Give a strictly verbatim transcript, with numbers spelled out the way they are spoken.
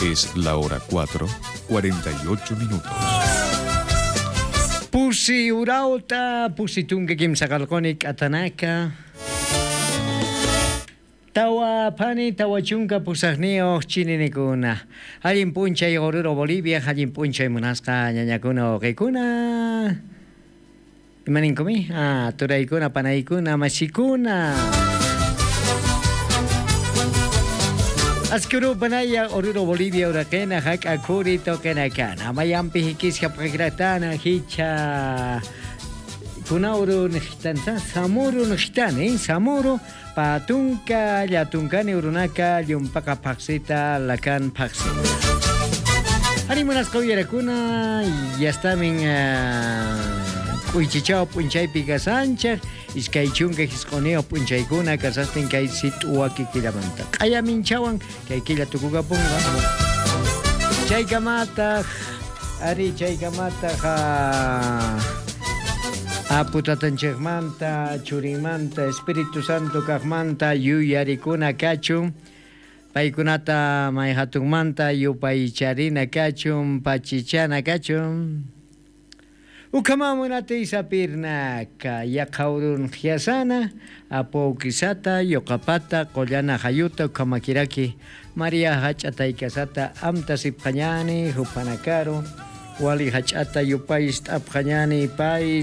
Es la hora cuatro, cuarenta y ocho minutos. Pusi urawta, pusi tunka kimsa qallquni k'atanaka. Tawa phani, tawa chunka pusaqniyuq chininikuna. Allin p'unchay Oruro Bolivia, allin p'unchay munasqa ñañakuna, wawqikuna. Imaninkumi? Ah, turaykuna, panaykuna, masikuna. Askuru panaya, Oruro Bolivia uraqina, jak'a khuri tuqinakana. Mayampi jikis japqakratana, jichha. Kuna uru nixtanta, Samuru nixtani, Samuru. Pä tunka, llä tunkani urunaka, llumpaqa phaxsita, lakan phaxsita. Ari munasqa uyarakuna, yastamin, ah, k'uychichaw p'unchaypi kasanchik, iskay chunka jisq'uniyuq p'unchaykuna kasastin kay sit'u waki killamanta. Q'aya minchhawan, kay killa tukukapunqa. Chaykamataq, ari, chaykamataq, ah, Apu Tatanchikmanta, Churinmanta, Espíritu Santo kaqmanta yuyarikuna kachun, paykunata may jatunmanta yupaycharina kachun, pachichana kachun. Ukhamä munatiy sapirnaka, yaqha urunxyasana, Apu Awkisata, Yuqapata, Qullana Jayuta, ukhamakiraki, María Jach'a Taykasata, amta sipxañäni, juphanakaru, wali jach'ata yupay ist'apxañäni, pay,